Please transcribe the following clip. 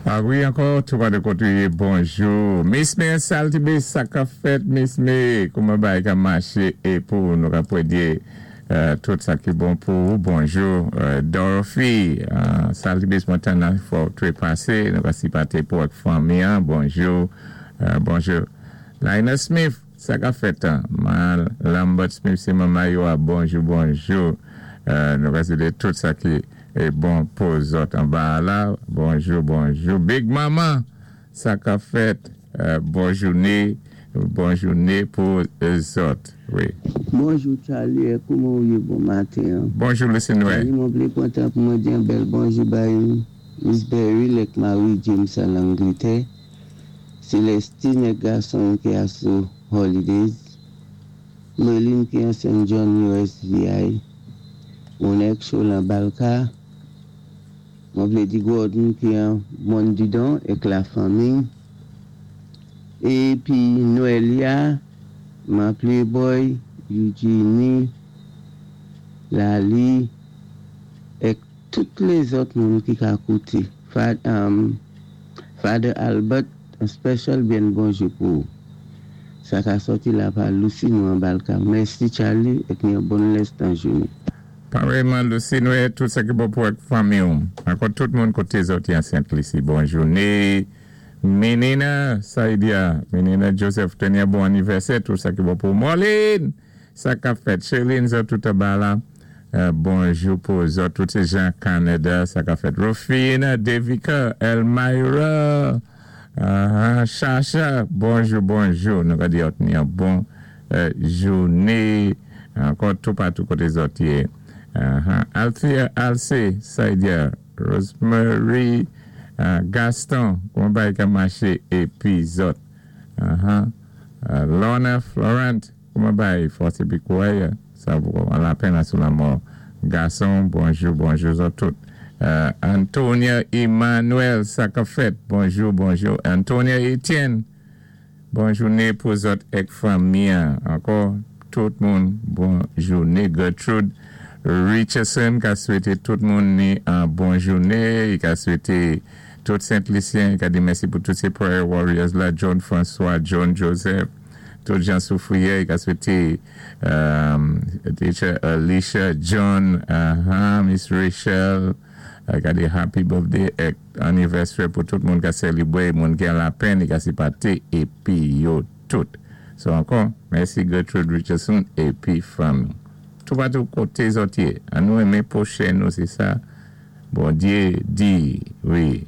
A wi, ankò, toupatou koté ou yé, bonjou. Miss May Saltibe, sa k ap fèt, Miss May? Kouman bagay ka maché é pou nou ka pwédyé tout sa ki bon pou ou? Bonjou, Dorothy Saltibe, Montana, fò twépasé, nou ka sipaté pou ak fanmi an. Bonjou, bonjou. Lionel Smith, sa k ap fèt an? Man Lambert Smith, sé manman yo a. Bonjou, bonjou. Nou ka swété tout sa ki bon pou zòt anba a la. Bonjou, bonjou. Big Mama, sa k ap fèt? Bon jouné, bon jouné pou zòt. Wi. Bonjou Charly e kouman ou yé bon maten an. Bonjou Lucinue. Charly mwen vlé pran tan pou mwen di yon bèl bonjou bay Miss Beryl ek mari James an Langletè, Celestine ek gason l ki asou holidays, Merline ki an Saint John USVI, Monek Show lan Balka, mwen vle di Gordon ki an Mondidon ek la fanmi, epi Noelia, man Playboy, Eugenie, Lalie, ek tout lezòt moun ki ka koute. Father Albert, an special byen bonjou pou ou. Sa ka sòti la pa Lucie nou an Balka. Mèsi Charly ek yon bon lèstan jounen. Parèyman Lucinue, tout sa ki bon pou ak fanmi w. Ankò tout moun koté zòt yan Sent Lisi bon jouné. Menina Saidia, Menina Joseph teni yon bon anivèsè, tout sa ki bon pou w. Marlene! Sa kap fèt Sherline zòt tout anba la bonjou pou zòt tout se Jean Canada sa kap fèt Rofine Devika Elmira Shasha bonjou bonjou nou ka di zòt ni yon bon joune ankò toupatou kote zòt ye Althea Alce Saidia Rosemary Gaston kouman bagay ka mache epi zòt Lorna Florent. Kouman bay fòs epi kouray sa pou an lapenn a sou lanmò gason bonjou bonjou zòt tout Antonia Emmanuel sa kap fèt bonjou bonjou Antonia Etienne bon joune pou zòt èk fanmi an ankò tout moun bon joune Gertrude Richardson ka swete tout moun ni an bon joune i ka swete tout Sent Lisyen i ka di mèsi pou tout se prayer warriors la John François John Joseph. Tout jan soufriyè i ka swete Teacher Alicia John Miss Rachel gade happy birthday ek anniversaire pou tout moun ka selibre moun ki an lapenn i ka sipate epi yo tout so ankò mèsi Gertrude Richardson epi fanmi toupatou kote zòt ye an nou renmen pwochen nou se sa Bondye di wi.